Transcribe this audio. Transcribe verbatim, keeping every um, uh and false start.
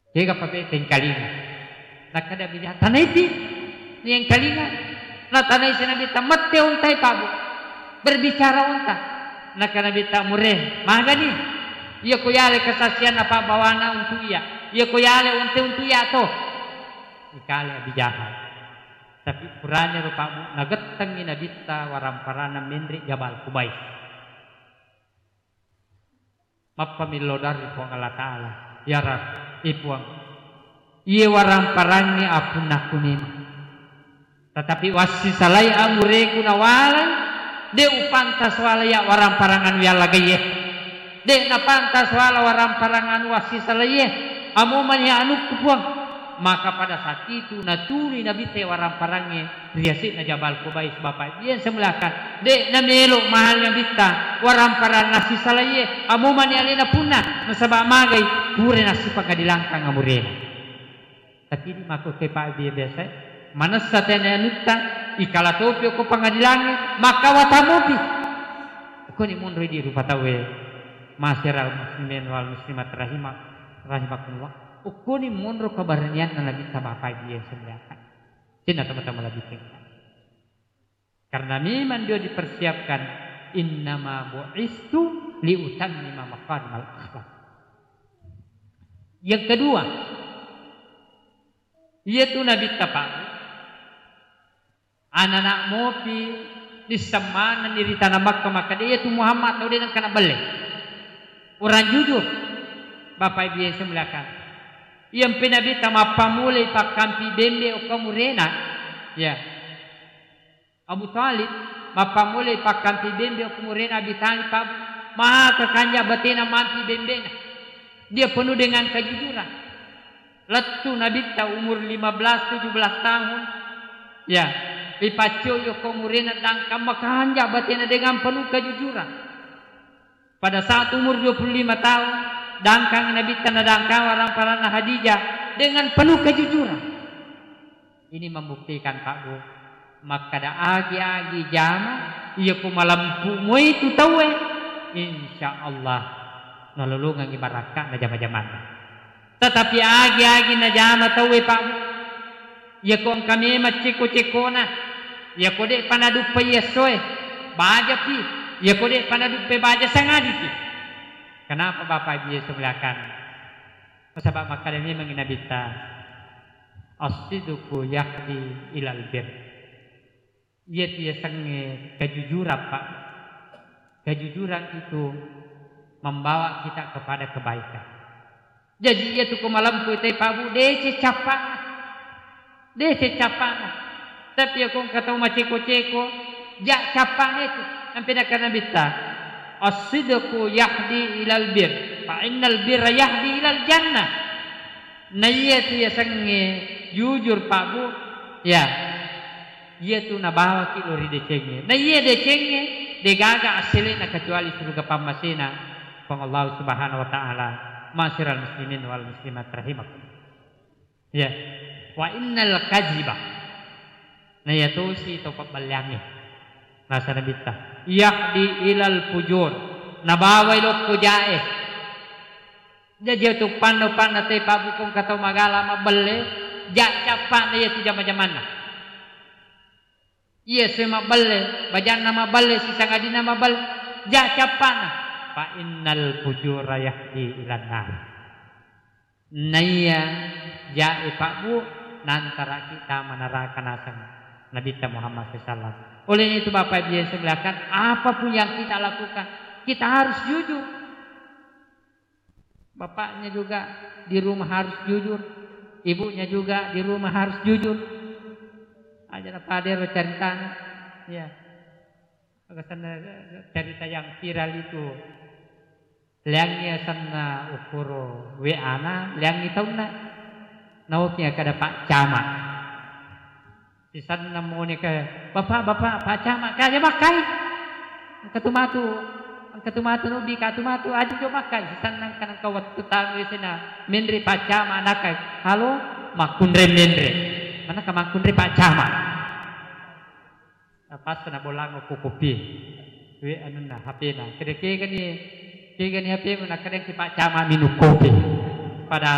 Kega pabe tengkalinga. Nakkeda Abi Jahal, "Tanaiti, niengkalinga." Natanai si Nabitta, "Mette ontai, Pak Bu. Berbicara onta." Nakkeda Nabitta, "Mure, magani? Iya ko yale kesaksianna pabbawana untuk iya. Iya ko yale onte untuk iya to." Ikale Abi Jahal. Tapi purane ro, Pak Bu, nagettengngi Nabitta waramparanna menre Jabal Kubais. Mappamillau doa ri Puang Allah Ta'ala. Ya Rab, e Puang, iye waramparangnge apunnakku memang. Tetapi wassisalai amureku nawalai, de upantas wala iya waramparang anu yallagaiye. De napantas wala waramparang anu wassisalaiye. Amomani anukku, Puang. Maka pada saat itu natului Nabitta waramparangnge ri yase'na Jabal Kubais, Bapak Ibu yang saya muliakan. De namelo mahal Nabitta waramparang nassisalaiye, amomani alena punna, nasaba magai pura nassipangadilangkang amurena. Tapi di mako ke Pak Ibu biasa manessa tena anutta, ikala topi ko pangadilangnge, maka watamopi. Koni monro di rupa tauwe. Masyiral muslimin wal muslimat rahimah-, rahimakumullah. Ukkoni monro keberanianna Nabitta, Bapak Ibu yang saya muliakan. Cina teman-teman lagi tinggal. Karena memang dia dipersiapkan, "Innama bu'istu liutammima makarimal akhlak." Yang kedua, iyatu Nabitta, Pak, anana mopi dissemmanenni ri tanah Makkah, maka de iyatu Muhammad tau de nengka nabelle. Orang jujur, Bapak Ibu yang saya muliakan. Iyampe Nabitta mappamulai pakkampi bembe okko murena. Ya. Abu Thalib mappamulai pakkampi bembe okko murena Abi Thalib, Pak, maka kanja batena mampi bembena. Dia penuh dengan kejujuran. Lettu Nabitta umur lima belas tujuh belas tahun. Ya, ripaccoi okko murena dangkang, makanja batena dengan penuh kejujuran. Pada saat umur dua puluh lima tahun, dangkang Nabitta nadangkang waramparanna Khadijah dengan penuh kejujuran. Ini membuktikan, Pak Bu, makkada agi-agi jama, iya ku malempu moi tu tauwe, insya Allah nalolongengi barakka'na jama-jamanna. Tetapi agi-agi najama tauwe, Pak Bu, iya ko engka memang ceko-cekona, iya ko de'pa naduppai essoe, bajapi, iya ko de'pa naduppai baja sangadipi. Kenapa Bapak Ibu yang saya muliakan? Nasaba makkada memang Nabitta, "As-sidqu yahdi ilal bir." Iyatu yasengnge kejujuran, Pak. Kejujuran itu membawa kita kepada kebaikan. Jadi iyatu ko malempu te, Pak Bu, deceng cappa'na. Deceng cappa'na. Tapi iya ko engka tau maceko-ceko, ja cappa'na itu. Ampe nakkeda Nabitta, "As-sidqu yahdi ilal bir, fa innal birra yahdi ilal jannah." Naiya tu yasengnge jujur, Pak Bu, ya, iya tu nabawaki lo ri decengnge. Naiya decengnge degaga assele'na kecuali suruga pammasena Puang Allah Subhanahu wa Ta'ala. Masyiral muslimin wal muslimat rahimakum. Ya. Wa innal kaziba. Naiya tosi to pabballeangnge. Nasa Nabitta, "Yahdi ilal fujur." Nabawai lokko jae. Jaji tu panno-panna te, Pak Bu, ko engka tau magala mabbelle, ja cappa'na iya tu jama-jamanna. Iya se mabbelle, bajanna mabbelle, sisangadinna mabbelle, ja cappa'na. Fa innal fujura yahdi ilan nar. Naiya jae, Pak Bu, nantaraki tama neraka naseng Nabitta Muhammad sallallahu alaihi wasallam. Oleh itu, Bapak Ibu yang saya muliakan, apapun yang kita lakukan, kita harus jujur. Bapaknya juga di rumah harus jujur, ibunya juga di rumah harus jujur. Aja na padero caritana. Ya. Aga senna cerita yang viral itu. Leangngi asenna ukkoro W A-na, leangngi taunna. Naoki kada Pak Camat. Sisenna moni ke, "Bapak, Bapak, Pak Camat, kaja makkai. Engka tu matu, engka tu matu, nubi ka tu matu, aja jo makkai." Sisenna engka nengka wettu tanu sena, menre Pak Camat nakai. "Halo, makkunre menre." Mana ka makkunre Pak Camat? Pas na bolang ko kopi. We anunna H P-na. Kede kegani, kegani H P-mu, nakkeda ki Pak Camat minum kopi. Padahal